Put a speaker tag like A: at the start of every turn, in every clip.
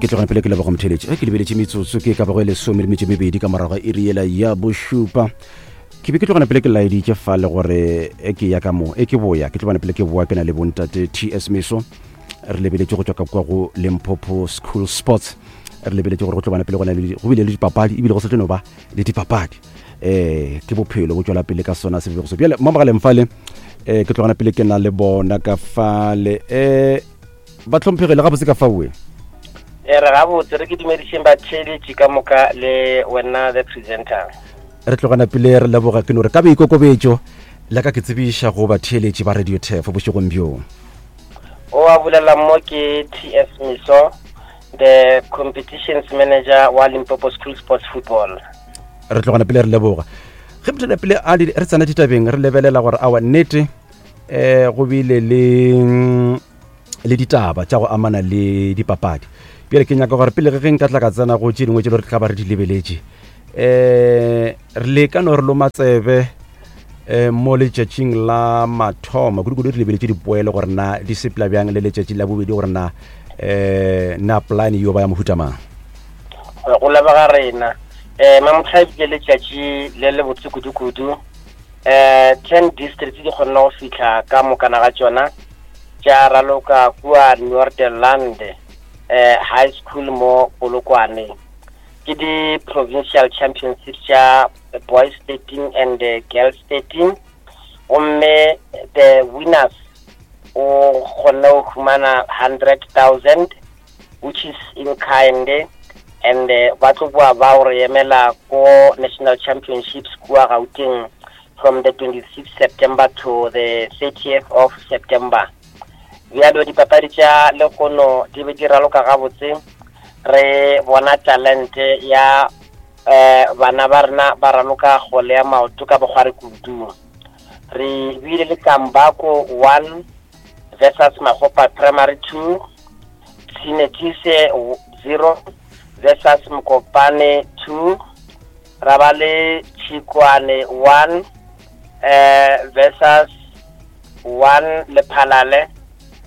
A: Ke tlogane pele ke leboga motheletši. Ge ke lebeletše metsotso ke ka bago e lesome le metšo mebedi ka morago ga iri yela ya bošupa. Ke be ke tlogana pele ke laeditše fale gore e ke ya ka mo e ke boya ke tlogana pele ke boa ke na le bontate TS Meso re lebeletše go tšwa ka kwa go Limpopo School Sports re lebeletše gore go tlobana pele go na le go bile le dipapadi ebile go sa tlo no ba le dipapadi eh ke bophelo bo tšwela pele ka sona sebego se bjale mo mogaleng fale eh ke tlogana pele ke na le bona ka fale eh ba tlhomphegile gabotse ka faoe
B: e re gabotse re ke dumedišeng batheeletši ka moka le wena the presenter
A: re tlogana pele re leboga ke no re ka boikokobetšo la ka ke tsebiša go batheeletši ba radio tef bošegong bjo
B: o a bolela mo ke ts miso the competitions manager wa limpopo school sports football
A: re tlogana pele re leboga ge motho pele a re tsena ditabeng re lebelela gore awa nnete um go bile le le ditaba tša go amana le dipapadi bjale ke nyaka gore pele ge nka tla ka tsena go tše dingwe tše le re tla ba re di lebeletše um re leka no re loma tsebe um mo letšatšing la mathomo kudu-kudu re lebeletše dipoelo gore na di sepela bjang le letšatši la bobedi gore na um na plan yo ba ya mohuta mang
B: go leboga rena um mamotlha ebile letšatši le le botse kudu-kudu um ten districts di kgonne go fihla ka mokana ga tšona tša raloka kua Noorderland eh, High School mo Polokwane. Ke di provincial championships tša boys 13 and eh, girls 13 gomme the winners o kgonne go humana 100,000 which is in kind and eh, ba tlo boa ba go re emela ko national championships kua Gauteng from the 26th September to the 30th of September. Bjalo dipapadi tša lehono di be di raloka gabotse re bona talente ya eh bana ba rena ba raloka kgole ya maoto ka bokgwari kudu. Re bile le Kambako 1 versus Magopa Primary 2, Tshinetise 0 versus Mokopane 2, ra ba le Tšhikwane 1 eh versus 1 Lephalale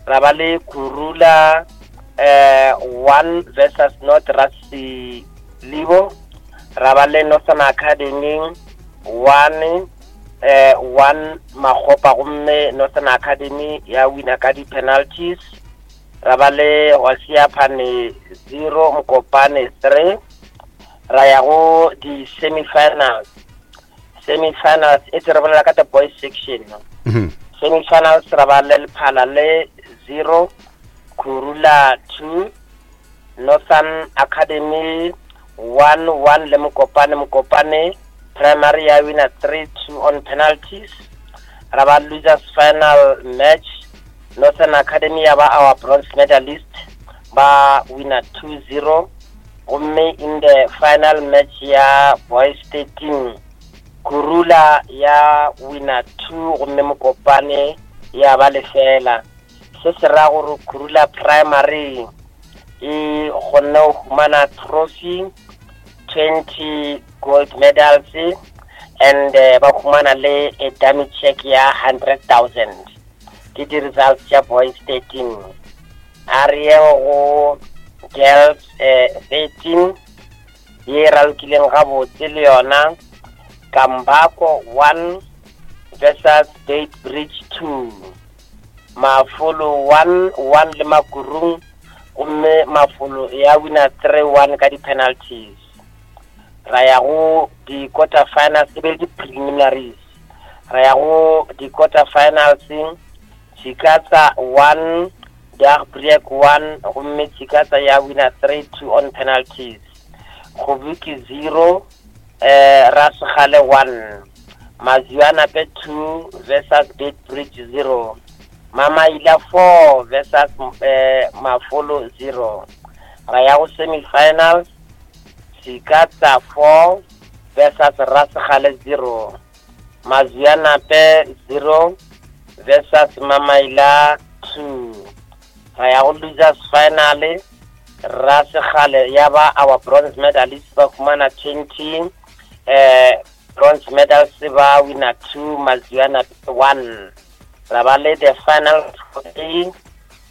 B: ra ba le Kurula eh 1 versus North Rasilibo ra ba le Northern Academy 1 eh 1 Magopa gomme Northern Academy ya wina ka di-penalties ra ba le Hosiaphane 0 Mokopane 3 ra ya go di-semi-finals semi-finals e tse re bolela ka the boys section mm -hmm. semi-finals ra ba le lephala le zero khurula two northern academy one one le mokopane mokopane primary ya wina three two on penalties ra ba losers final match northern academy ya ba our bronze medalist ba wina two zero Gomme in the final match ya Boys 13, Kurula ya wina 2 gomme Mokopane ya ba lefela. Se se ra gore Kurula Primary e kgonne go humana trophy, 20 gold medals and eh, ba humana le a dummy check ya 100,000. Ke di-results tša Boys 13. A re yeng go Girls eh, 13 ye e ralokileng gabotse le yona Kambako 1 versus Beit Bridge 2 Mafolo 1 1 le Makurung gomme Mafolo ya wina 3 1 ka di-penalties ra ya go di-quarter finals e be le di-preliminaries ra ya go di-quarter finals Tshikatsa 1, Dagbreek 1 gomme Tshikatsa ya wina 3-2 on penalties. Kgobuki 0, eh, Rasegale 1. Maziwanape 2 versus Beitbridge 0. Mamaila 4 versus eh, Mafolo 0. Ra ya go semi-finals, Tshikatsa 4 versus Rasegale 0. Mazianape 0 versus Mamaila 2. Ra ya go losers final Rasekgale ya ba our bronze medalist ba humana 20 eh bronze medals ba wina 2 Mazianape 1. Ra ba le the final three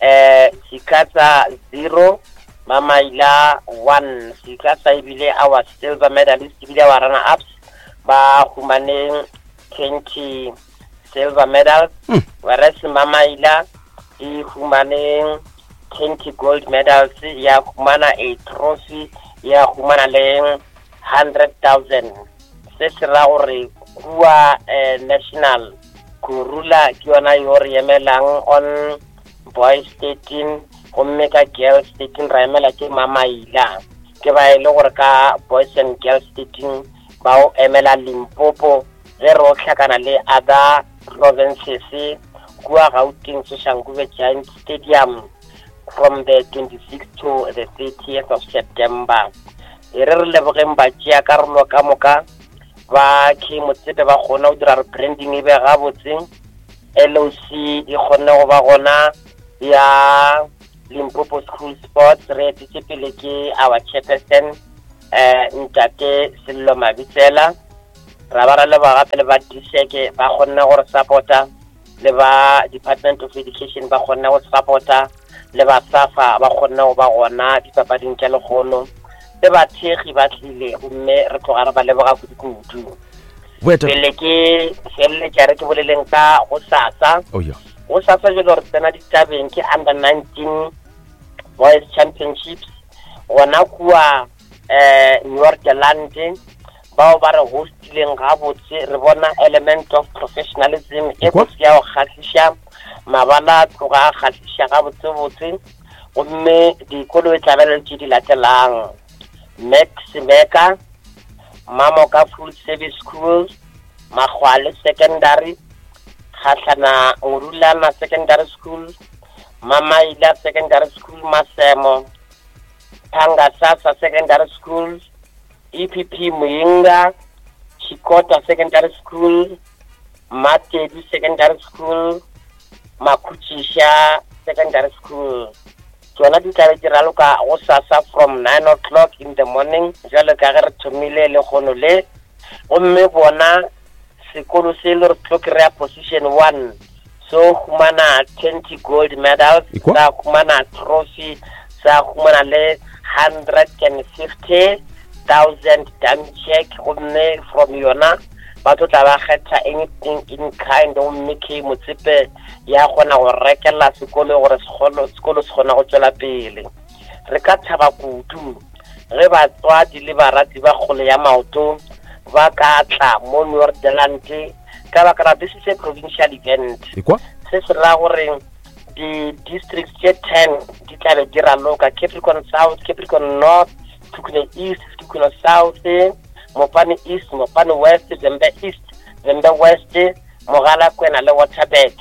B: eh Chikatsa 0 Mamaila 1. Seka sa ebile our silver medalist ebile our runner ups ba humaneng 20 silver medals whereas Mamaila e humaneng 20 gold medals ya humana a trophy ya humana le 100,000. Se se ra gore kua national Kurula ke yona yo re emelang on boys 13, gomme ka girls 13 ra emela ke Mamaila. Ke ba e le gore ka boys and girls 13 ba o emela Limpopo ge re o hlakana le other provinces kua Gauteng Soshanguve Giant Stadium from the 26th to the 30th of September. E re re lebogeng ba tšea karolo ka moka ba K Motsepe ba kgona go dira re branding e be gabotse. LOC e kgonne go ba gona ya Limpopo School Sports, re etetše pele ke our chairperson Ntate Sello Mabitsela. Ra ba ra leboga gape le ba DSEC ba kgonne go re supporta, le ba Department of Education ba kgonne go supporta, le ba SAFA ba kgonne go ba gona dipapading tša lekgono, le bathekgi ba tlile, gomme re tloga re ba leboga kudu-kudu. Pele ke feleletša re ke boleleng ka go sasa.
A: Oh, yeah.
B: Go sasa jalo re tsena ditabeng ke under 19 Boys Championships gona kua Noorderland, bao ba re hostileng gabotse. Re bona element of professionalism e botse ya go kgahliša, mabala a tloga a kgahliša gabotsebotse, gomme dikolo e tla be le tše di latelang: Max Meka, Mamoka Full Service School, Magwale Secondary, Kgahlana Ngurulana Secondary School, Mamaila Secondary School Masemo, Phangasasa Secondary School, EPP Muyinga, Chikota Secondary School, Matedu Secondary School, Makhutšiša Secondary School. Tšona di tla be di raloka go sasa from 9 o'clock in the morning, jwalo ka ge re thomile lekgono le. Gomme bona sekolo se le re tlo kry-a position 1, so humana 20 gold medals, sa humana trophy, sa humana le 150,000 dummy check, gomme from yona ba tlo tla ba kgetha anything in kind, gomme K Motsepe ya kgona go rekela sekolo gore sekolo se kgona go tšwela pele. Re ka thaba kudu ge batswadi le barati ba kgole ya maoto ba ka tla mo Noorderland, ka baka la this is a provincial event. Se se ra gore di-districts tše 10 di tla be di raloka: Capricorn South, Capricorn North, Sekhukhune East, Sekhukhune South, Mopani East, Mopani West, Vhembe East, Vhembe West, Mogalakwena le Waterberg.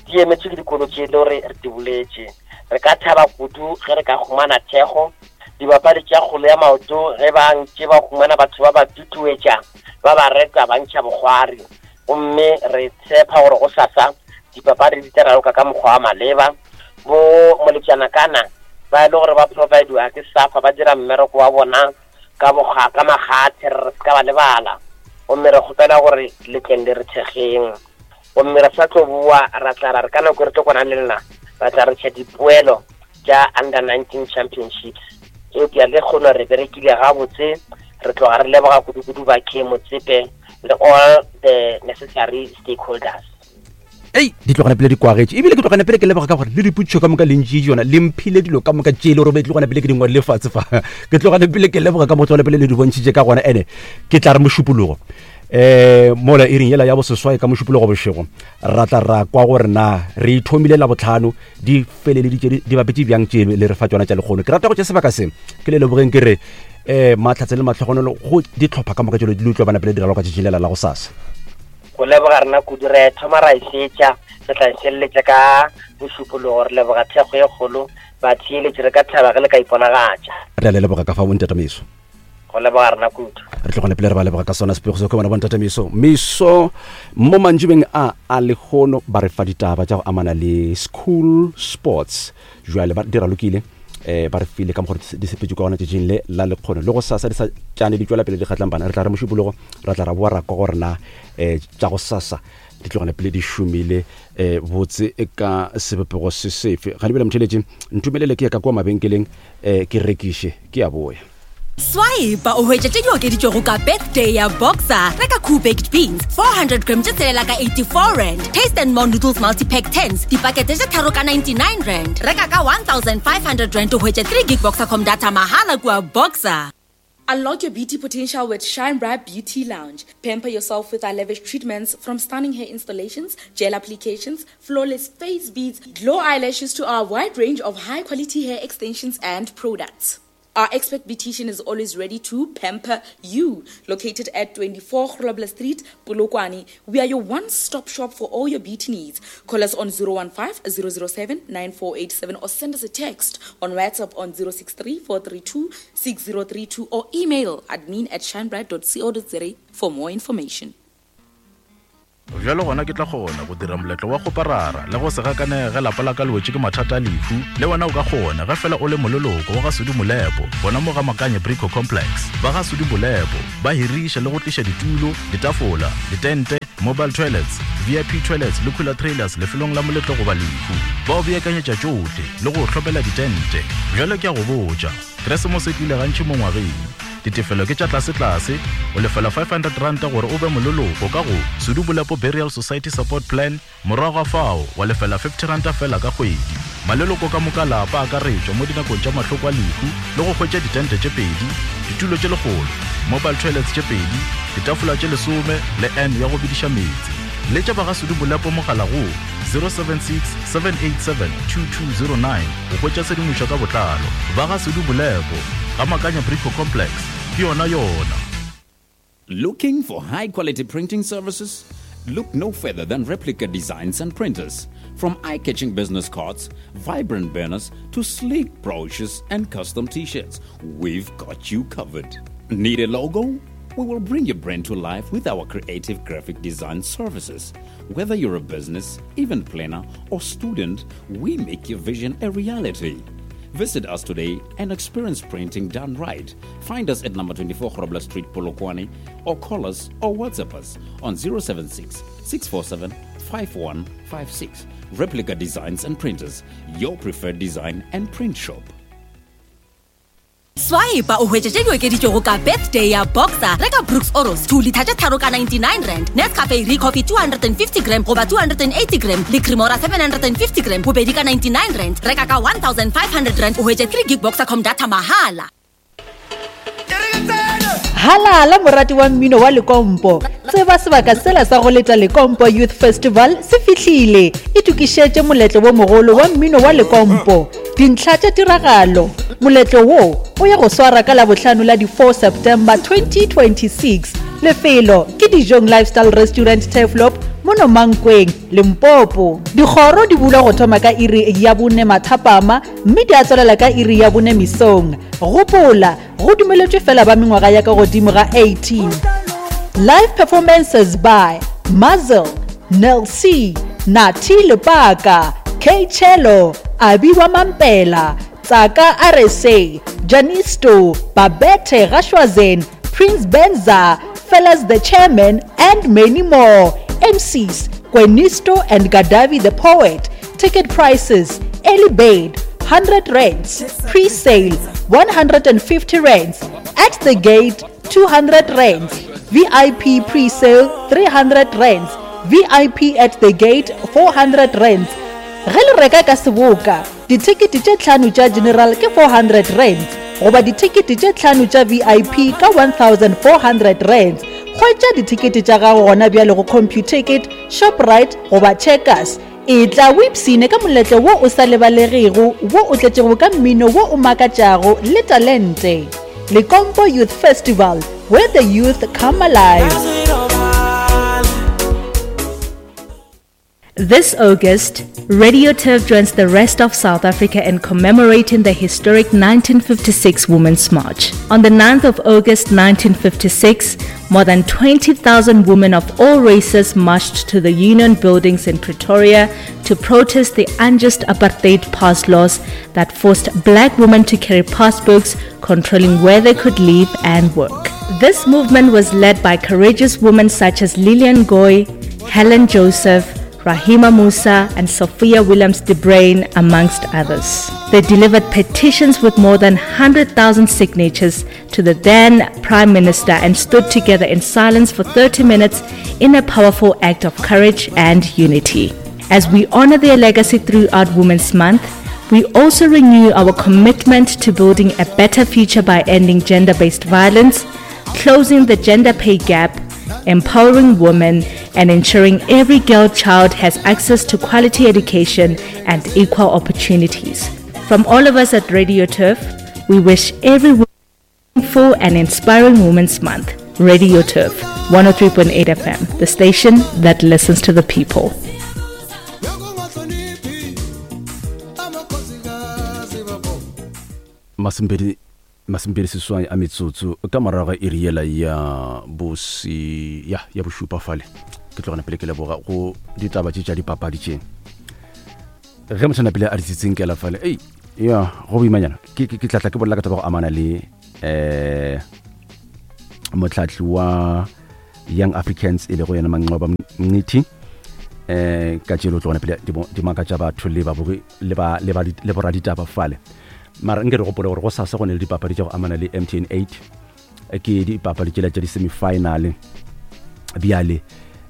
B: Di emetšwe ke dikolo tše le gore re di boletše. Re ka thaba kudu ge re ka humana thekgo. Dibapadi tša kgolo ya maoto ge ba ntše ba humana batho ba ba tutuetša, ba ba reta, ba ntšha bokgwari. Gomme re tshepa gore go sasa dipapadi di tla raloka ka mokgwa wa maleba. Bo moletšana kana ba e le gore ba providiwa ke SAFA, ba dira mmereko wa bona ka boga ka magathe, re se ka ba lebala. Gomme re kgopela gore le tleng le re thekgeng. Gomme re sa tlo boa ra tla ra re ka nako re tlo kwana le lena, ra tla re tšha dipoelo tša under 19 championships. Eupša le kgono re berekile gabotse, re tloga re leboga kudu-kudu ba K Motsepe le all the necessary stakeholders.
A: Ei, di tlogana pele di kwagetše, ebile ke tlogana pele ke leboga ka gore le dipotšišo ka moka le ntšee tšona, le mphile dilo ka moka tše e le gore be tlogana pele ke di ngwadile fatshe fa. Ke tlogana pele ke leboga ka mo tlogana pele le di bontšhitše ka gona. Ene ke tla re mošupologo mola iring yela ya boseswai ka mošupologo bošego ra tla ra kwa gore na re ithomile la botlhano di feleleditše di bapetše bjang tše le re fa tšona tša lekgono. Ke rata go tše sebaka se ke le lebogeng ke re matlhatse le matlhogonolo go ditlhopha ka moka tšelo di le utlwa bana pele di raloka tšatšing lela la go sasa.
B: Go leboga rena kudu, re thoma ra e fetša, re tla e feleletša ka bošupologo. Re leboga thekgo e kgolo, batheeletši, re ka thaba ge le ka iponagatša.
A: Re a le leboga ka fa bontatamiso.
B: Go leboga rena kudu.
A: Re tlogane pele re ba leboga ka sona sepego se ke bona bontatamiso. Meso mo mantšibeng a a lehono ba re fa ditaba tša go amana le school sports. Jwale ba dira lokile. um ba re file ka mokgwa di sepetše ka gona tšatšing le la lekgono le go sasa di sa tšane di tšwela pele di kgatlang bana re tla re mošupologo ra tla ra boa ra kwa gore na um tša go sasa di tlogane pele di šomile um botse ka sebopego se sefe ga lebele motheletše ntumelele ke ya ka kua mabenkeleng um ke rekiše ke ya boya.
C: Swipe o hwetše tše di okeditšwego ka birthday ya Boxer. Reka Cool Baked Beans 400 gram tše tshelela ka 84 rand. Taste and More Noodles Multipack 10s dipakete tše tharo ka 99 rand. Reka ka 1500 rand o hwetše 3 gig Boxercom data mahala kua Boxer.
D: Unlock your beauty potential with Shine Bright Beauty Lounge. Pamper yourself with our lavish treatments from stunning hair installations, gel applications, flawless face beads, glow eyelashes to our wide range of high quality hair extensions and products. Our expert beautician is always ready to pamper you. Located at 24 Grobler Street, Polokwane, we are your one-stop shop for all your beauty needs. Call us on 015 007 9487 or send us a text on WhatsApp on 063 432 6032 or email admin at shinebright.co.za for more information.
E: Bjalo gona ke tla kgona go dira moletlo wa kgoparara le go se gakanege ge lapa la ka le wetše ke mathata a lehu. Le wena o ka kgona ge fela o le moleloko wa ga Sudi Molepo gona mo ga Makanye Brico Complex. Ba ga Sudi Molepo ba hiriša le go tliša ditulo, ditafola, ditente, mobile toilets, VIP toilets le cooler trailers lefelong la moletlo goba lehu. Ba o beakanyetša tšohle le go o hlomela ditente. Bjalo ke a go botša, Keresemose e tlile gantši mo ngwageng. Ditefelo ke tša tlasetlase, o lefela R500 gore o be moleloko ka go Sudu Bolepo Burial Society Support Plan, morago ga fao wa lefela R50 feela ka kgwedi. Maleloko ka moka a lapa a akaretšwa mo dinakong tša mahloko a lehu le go hwetša ditente tše pedi, ditulo tše lekgolo, mobile toilets tše pedi, ditafola tše lesome le urn ya go bediša meetse. Letša ba ga Sudu Bolepo mogala go 076 787 2209 go hwetša tshedimošo ka botlalo. Ba ga Sudu Bolepo. Ga Makanya Brico Complex, ke yona yona.
F: Looking for high quality printing services? Look no further than Replica Designs and Printers. From eye catching business cards, vibrant banners, to sleek brochures and custom t shirts, we've got you covered. Need a logo? We will bring your brand to life with our creative graphic design services. Whether you're a business, event planner, or student, we make your vision a reality. Visit us today and experience printing done right. Find us at number 24 Grobler Street, Polokwane, or call us or WhatsApp us on 076 647 5156. Replica Designs and Printers, your preferred design and print shop.
C: Swipe o hwetše tše di okeditšwego ka birthday ya Boxer. Reka Brooks Oros 2 litha tše tharo ka 99 rand, Nescafe Recoffee 250 gram goba 280 gram le Cremora 750 gram bobedi ka 99 rand. Reka ka 1500 rand o hwetše 3 gig Boxercom data mahala.
G: Halala morati wa mmino wa Lekompo! Tseba sebaka sela sa go leta Lekompo Youth Festival se fihlile. Itokišetše moletlo wo mogolo wa mmino wa Lekompo. Dintlha tša tiragalo, Moletlo wo o ya go swara ka Labohlano la di 4 September 2026. Lefelo ke Dijong Lifestyle Restaurant Turfloop mono Mankweng, Limpopo. Dikgoro di bulwa go thoma ka iri ya bone mathapama mme di a tswalela ka iri ya bone mesong. Gopola, go dumeletšwe fela ba mengwaga ya ka godimo ga 18. Live performances by Muzzle, Nel C, Nathi Lepaka, K Chelo, Abi wa Mampela, Tsaka RSA, Janisto, Babette Gashwazen, Prince Benza, Fellas the Chairman, and many more. MCs, Kwenisto and Gadavi the Poet. Ticket prices, early bird, 100 rands, pre-sale, 150 rands, at the gate, 200 rands, VIP pre-sale, 300 rands, VIP at the gate, 400 rands. Ge le reka ka seboka, dithekete tše tlhano tša general ke 400 rands goba dithekete tše tlhano tša VIP ka 1400 rands. Hwetša dithekete tša gago gona bjale go Computicket, Shoprite goba Checkers. Etla o ipshine ka moletlo wo o sa lebalegego wo o tletšego ka mmino wo o makatšago le talente. Lekompo Youth Festival, where the youth come alive.
H: This August, Radio Turf joins the rest of South Africa in commemorating the historic 1956 Women's March. On the 9th of August 1956, more than 20,000 women of all races marched to the Union buildings in Pretoria to protest the unjust apartheid pass laws that forced black women to carry passbooks controlling where they could live and work. This movement was led by courageous women such as Lillian Goy, Helen Joseph, Rahima Moosa, and Sophia Williams de Bruyn, amongst others. They delivered petitions with more than 100,000 signatures to the then Prime Minister and stood together in silence for 30 minutes in a powerful act of courage and unity. As we honor their legacy throughout Women's Month, we also renew our commitment to building a better future by ending gender based violence, closing the gender pay gap, empowering women, and ensuring every girl child has access to quality education and equal opportunities. From all of us at Radio Turf, we wish every full and inspiring Women's Month. Radio Turf, 103.8 FM, the station that listens to the people.
A: Masomepedi masomepedi seswai a metsotso ka morago ga iri yela ya bosi ya ya bošupa fale ke tlogana pele ke leboga go ditaba tše tša dipapadi tše ge motho pele a di tsitsinkela fale ei ya go boimanyana ke ke tlatla ke bolela ka taba go amana le eh motlhatli wa Young Africans e lego yena Manqoba Mngqithi eh ka tšelo tlogana pele di makatša batho le babogi le ba le ba le boraditaba fale mara nke re gopole gore go sasa go ne le dipapadi tša go amana le MTN 8 ke dipapadi tšela tša di-semifinale bjale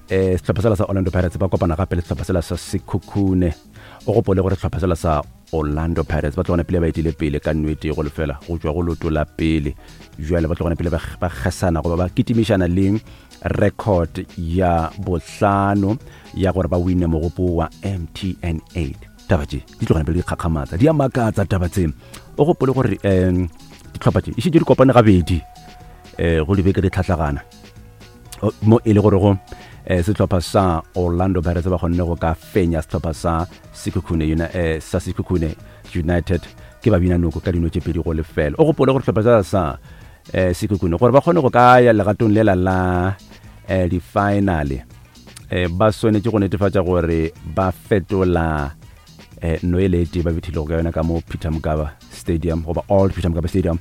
A: eh sehlopha sela sa Orlando Pirates ba kopana gape le sehlopha sela sa Sekhukhune o gopole gore sehlopha sela sa Orlando Pirates ba tlogana pele ba etile pele ka nnete go lefela go tšwa go loto la pele jwale ba tlogana pele ba kgesana goba ba kitimišana le record ya bohlano ya gore ba wine mogopo wa MTN 8 taba tše di tlogana pele di kgakgamatsa di a makatsa taba tse o gopole gore um ditlhopha tše e šetše di kopane gabedi um go dibeke di tlhatlagana mo e le gore go eh, sehlopha sa Orlando Pirates ba kgonne go ka fenya sehlopha sa Sekhukhune eh, sa Sekhukhune United ke ba bina noko ka dino tše pedi go lefela o gopole gore sehlopha sa sa eh, Sekhukhune gore ba kgone go ka ya legatong lela la eh, di-finale eh, ba swanetše go netefatša gore ba fetola eh, no e le tee ba bethilego ka yona ka mo Peter Mokaba Stadium goba Old Peter Mokaba Stadium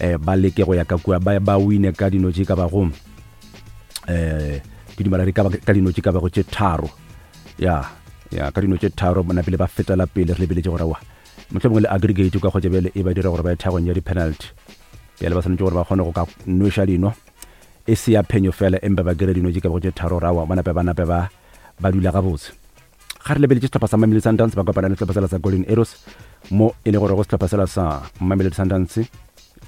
A: eh, ba leke go ya ka kua ba, ba wine ka dino tše ka bago eh, ke dumela re ka dino tše ka bago tše tharo ya ya ka dino tše tharo bona pele ba fetela pele re lebeletše gore wa mohlomongwe le aggregate ka kgotsa bjale e ba dira gore ba ye thagong ya di-penalty bjale ba swanetše gore ba kgone go ka nweša dino e se ya phenyo fela empa ba kry dino tše ka bago tše tharo rawa ba nape ba nape ba ba dula gabotse Ga re lebeletše sehlopha sa Mamelodi Sundowns ba kopana le sehlopha sela sa Golden Arrows mo e le gore go sehlopha sela sa Mamelodi Sundowns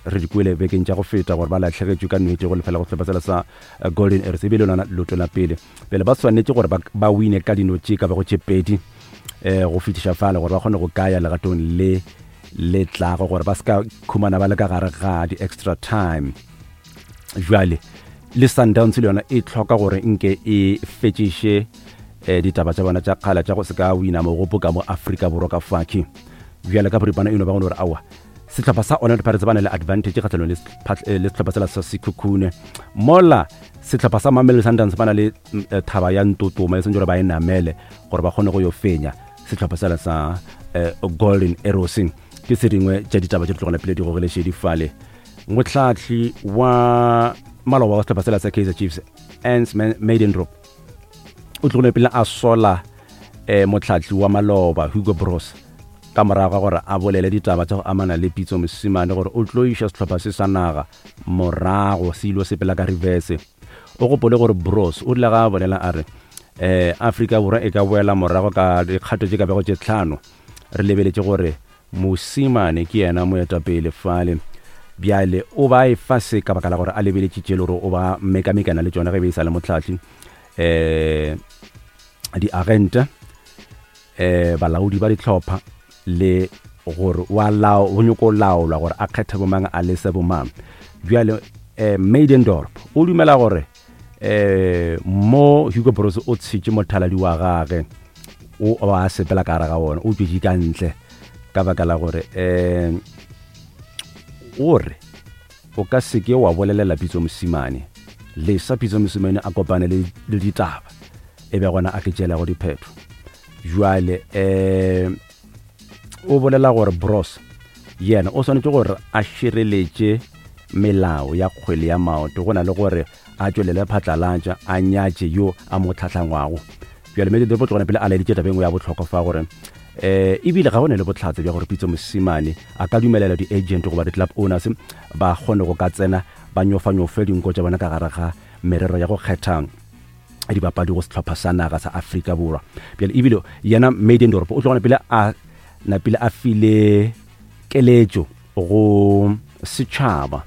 A: re di kwele bekeng tša go feta gore ba lahlegetšwe ka nnete go lefela go sehlopha sela sa eh, Golden Arrows e bile lona loto la pele pele ba swanetše gore ba wine ka dino tše ka bago tše pedi um go fetiša fale gore ba kgone go kaya legatong le le tlago gore ba se ka khumana ba le ka gare ga di-extra time jwale le Sundowns le yona e tlhoka gore nke e fetšiše eh, ditaba tša bona tša kgala tša go se ka wina mogopo ka mo Afrika Borwa ka faki bjale ka boripana eno ba gone gore aowa sehlopha sa Orlando Pirates ba na le advantage kgatlhanong le eh, le sehlopha sela sa Sekhukhune mola sehlopha sa Mamelodi Sundowns ba na le mm, eh, thaba ya ntotoma e sentse gore ba e namele gore ba kgone go yo fenya sehlopha sela sa eh, Golden Arrows ke se dingwe tša ditaba tše di tlogela pele di gogele šedi fale mohlahli wa maloba wa sehlopha sela sa Kaizer Chiefs Ernst Middendorp o tlogile pele a sola eh, mohlahli wa maloba Hugo Broos ka morago ga gore a bolele ditaba tša go amana le Pitso Mosimane gore o tlo iša sehlopha se sa naga morago se ilo sepela ka reverse. O gopole gore Broos o rile ga a bolela a re eh, Afrika Borwa e ka boela morago ka dikgato tše ka bego tše tlhano re lebeletše gore Mosimane ke yena moetapele fale. Bjale o ba efa se ka baka la gore a lebeletše tše le gore o ba mekamekana le tšona ge be e sa le mohlahli. Um diagente, um balaodi ba dihlopha le gore wa lao o nyoko laolwa gore a kgethe bomang a lese bomang. Bjale um Middendorp o dumela gore um mo Hugo Broos o tshetše mothaladi wa gage. o ba a sepela ka gare ga wona o tšwetše ka ntle ka baka la gore um o re o ka seke wa bolelela Pitso Mosimane lesa Pitso Mosimane a kopane le, le ditaba e be gona a ke tšeelago diphetho jwale um o bolela gore Bros yena o swanetše gore a šireletše melao ya kgwele ya maoto go na le gore a tšwelele phatlalatša a nyatše yo a mo tlhatlhangwago. Bjale Middendorp o tlogana pele a laeditše taba e nngwe ya bohlokwa fa gore um ebile ga go ne le bohlatse bja gore Pitso Mosimane a ka dumelela di-agent goba di-club owners ba kgone go ka tsena ba nyofanyofe dinko tša bona ka gare ga merero ya go kgetha dibapadi go sehlopha sa naga sa Afrika Borwa. Bjale ebile yena Middendorp o tlogana pele a napile a file keletšo go setšhaba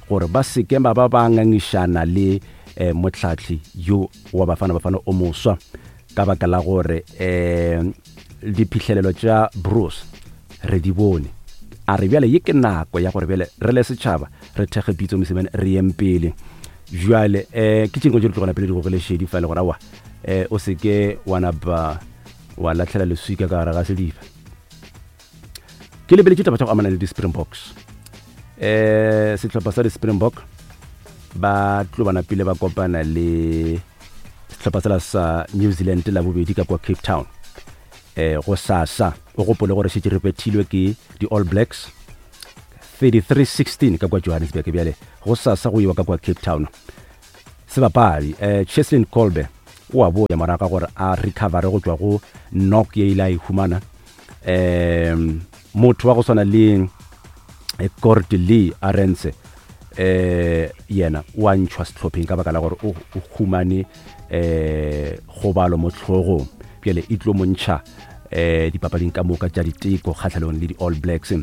A: gore ba se ke ba ba ba ngangišana le eh, mohlahli yo wa Bafana Bafana o moswa ka baka la gore eh, diphihlelelo tša Bruce re di bone. A re bjale ye ke nako ya gore bjale re le setšhaba re thekge Pitso Mosimane re yeng pele. Bjale eh, ke tše dingwe tše di tlogela pele di gogele šedi fa le gore aowa eh, o se ke wa napa wa lahlela leswika ka gare ga sediba. Ke lebeletše taba tša go amana le di-Springboks. Eh, sehlopha sa di-Springbok ba tlo ba napile ba kopana le sehlopha sela sa New Zealand la bobedi ka kwa Cape Town. Eh, go sasa o gopole gore šetše re bethilwe ke di-All Blacks 33-16 ka kwa Johannesburg. Bjale go sasa go iwa ka kwa Cape Town. Sebapadi eh, Cheslin Kolbe o a boya morago ga gore a recovere go tšwa go knock ye ile a e humana. Um motho wa go swana le eh, Kurt Lee Arendse eh yena o a ntšhwa sehlopheng ka baka la gore o humane eh kgobalo mo hlogong. Bjale e tlo mo ntšha eh dipapading ka moka tša diteko kgahlanong le di-All Blacks.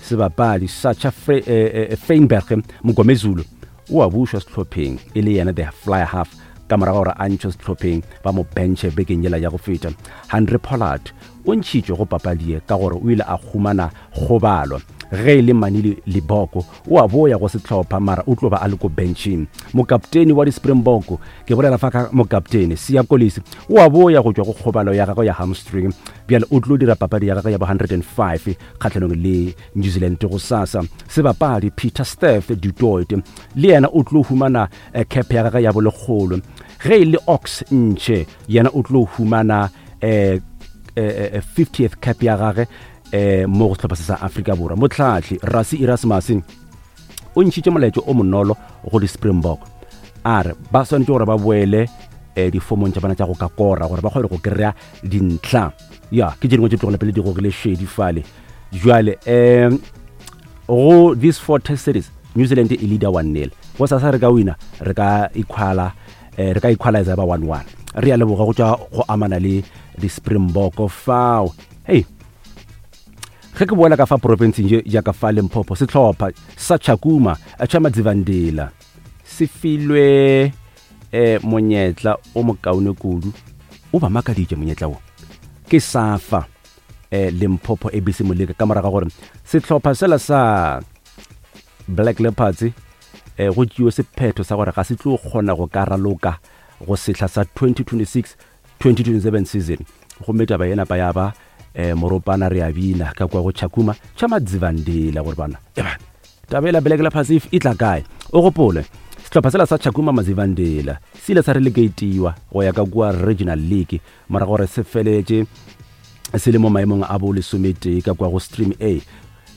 A: Sebapadi Sacha Feinberg Mngomezulu o a bušwa sehlopheng e le yena the fly half ka morago gore a ntšhwe sehlopheng ba mo benche bekeng yela ya go feta. Handre Pollard o ntšhitšwe go papadi ye ka gore o ile a humana kgobalo. Ge e le Manili Liboko o a boya go sehlopha mara o tlo ba a le ko benching. Mokapteni wa di-Springbok, ke bolela fa ka mokapteni Siya Kolisi, o a boya go tšwa go kgobalo ya gagwe ya hamstring. Bjale o tlo dira papadi ya gagwe ya bo 105 kgahlanong le New Zealand gosasa. Sebapadi Peter Steph du Toit le yena o tlo humana eh, cap ya gagwe ya bolekgolo. Ge e le Ox Nche yena o tlo humana eh, eh, 50th eh, cap ya gagwe eh, mo go sehlopha se sa Afrika Borwa. Mohlahli Rassie Erasmus o ntšhitše molaetšo o monolo go di-Springbok, a re ba swanetše gore ba boele eh, difomong tša bona tša go ka kora gore ba kgone go kry-a dintlha. Ya ke tše dingwe tše tlogela pele di gogile šedi fale. Jwale um go these four test series New Zealand e leader 1-0. Go sasa re ka wina re ka equala eh, re ka equalize ba 1-1. Re ya leboga go tšwa go amana le di-Springbok fao. Hey, ge ke boela ka fa profenseng ye ya ka fa Limpopo, sehlopha sa Chakuma tša Madzivhandila se filwe eh, monyetla o mokaone kudu. O ba makaditše monyetla wo ke safa eh, Limpopo ABC Moleka ka morago ga gore sehlopha sela sa Black Leopards eh, go tšewe sephetho sa gore ga se tlo kgona go ka raloka go sehla sa 2026-2027 season. Gomme taba ye napa ya ba eh, moropana re a bina ka kwa go Chakuma tša Madzivhandila gore bana ebana taba ela Black Leopards e tla kae. O gopole sehlopha sela sa Chakuma Madzivhandila se ile sa relegatiwa go ya ka kua Regional League morago gore se feletše se le mo maemong a bo lesometee ka kwa go Stream A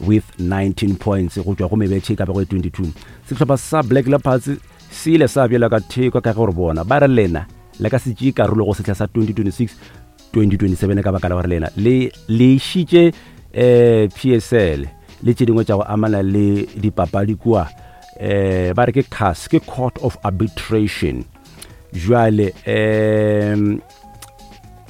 A: with 19 points go tšwa go mebetšhe e ka bego e 22. Sehlopha sa Black Leopards se ile sa bjela ka theko ka ge gore bona ba re lena le ka se tšee karolo go sehla sa 2026-2027 ka baka la gore lena le le išitše eh, PSL le tše dingwe tša go amana le dipapadi kua eh, ba re ke CAS, ke Court of Arbitration. Jwale um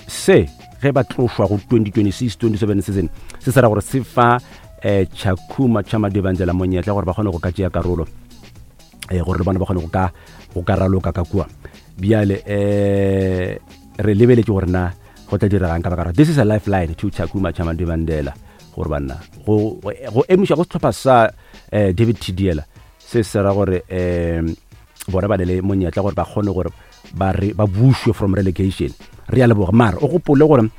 A: se ge ba tlošwa go 2026-27 season se se ra gore se fa eh, Chakuma tša Madibanzela monyetla gore ba kgone go ka tšea karolo eh, gore le bona ba kgone go ka go ka raloka ka kua. Bjale eh, re lebeletše gore na go tla diregang ka baka this is a lifeline to Chakuma tša Madibandela gore banna go go emiša go sehlopha sa eh, David Thidiela se se ra gore eh, bona ba ne le monyetla gore ba kgone gore ba re ba bušwe from relegation. Re a leboga mara o gopole gore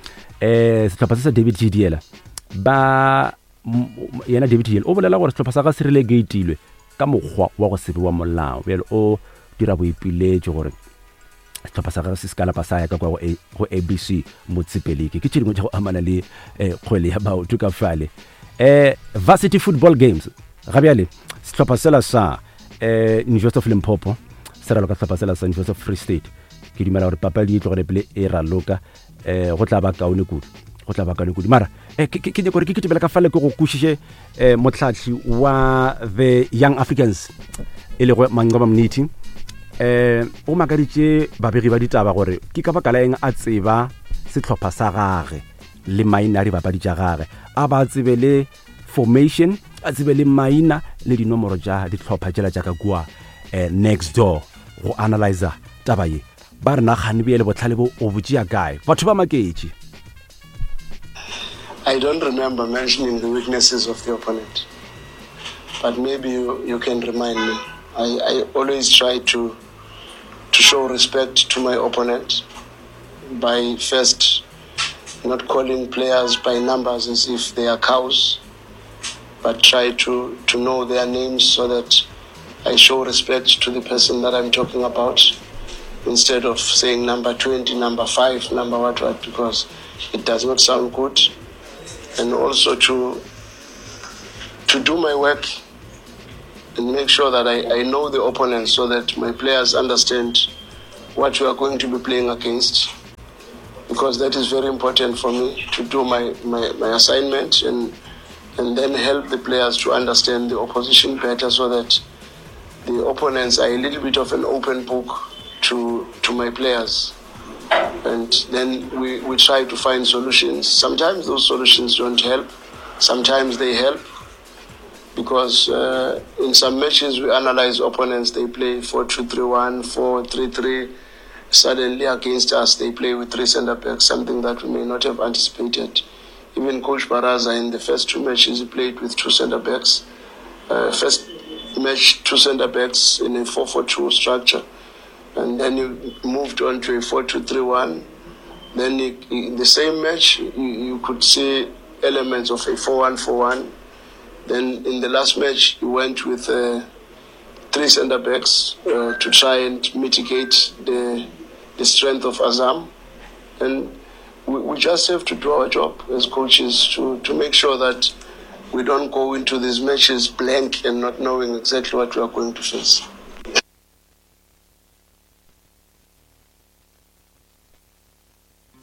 A: Um sehlopha se sa David Thidiela ba yena David Thidiela o bolela gore sehlopha sa ga se relegatilwe ka mokgwa wa go se be wa molao. Bjale o dira boipiletšo gore sehlopha sa gagwe se se ka lapa sa ya ka kwa go ABC Motsepe League. Ke tše dingwe tša go amana le eh, kgwele ya maoto ka fale. Eh, Varsity Football Games ga bjale sehlopha sela sa eh, University of Limpopo se raloka sehlopha sela sa University of Free State. Ke dumela gore papadi e tlogele pele e raloka eh, go tla ba kaone kudu go tla ba kaone kudu mara eh, ke nyaka gore ke kitimela ka fale ke go kwešiše eh, motlhatlhi wa the Young Africans e lego Manqoba Mniti eh o makaditše babegi ba ditaba gore ke ka baka la eng a tseba sehlopha sa gage le maina a dibapadi tša gage a ba tsebe le formation a tsebe le maina le dinomoro tša dihlopha tšela tša ka kua eh, next door go analyzer taba ye ba re nagane bjale bohlale bo o bo tšea kae batho ba maketše.
I: I don't remember mentioning the weaknesses of the opponent, but maybe you, you can remind me. I, I always try to to show respect to my opponent by first not calling players by numbers as if they are cows, but try to, to know their names so that I show respect to the person that I'm talking about instead of saying number 20, number 5, number what, what, because it does not sound good. And also to, to do my work and make sure that I, I know the opponent so that my players understand what we are going to be playing against because that is very important for me to do my, my, my assignment and and then help the players to understand the opposition better so that the opponents are a little bit of an open book to to my players. And then we, we try to find solutions. Sometimes those solutions don't help. Sometimes they help because uh, in some matches we analyze opponents, they play 4 2 3 1, 4 3 3. Suddenly against us, they play with three centre backs, something that we may not have anticipated. Even Coach Baraza in the first two matches, he played with two centre backs. Uh, first match, two centre backs in a 4 4 2 structure. And then he moved on to a 4 2 3 1. Then he, in the same match, you, you could see elements of a 4 1 4 1. Then in the last match, he went with uh, three centre backs uh, to try and mitigate the, the strength of Azam. And we, we just have to do our job as coaches to, to make sure that we don't go into these matches blank and not knowing exactly what we are going to face.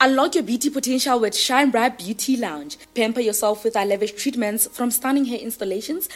D: Unlock your beauty potential with Shine Bright Beauty Lounge. Pamper yourself with our lavish treatments from stunning hair installations,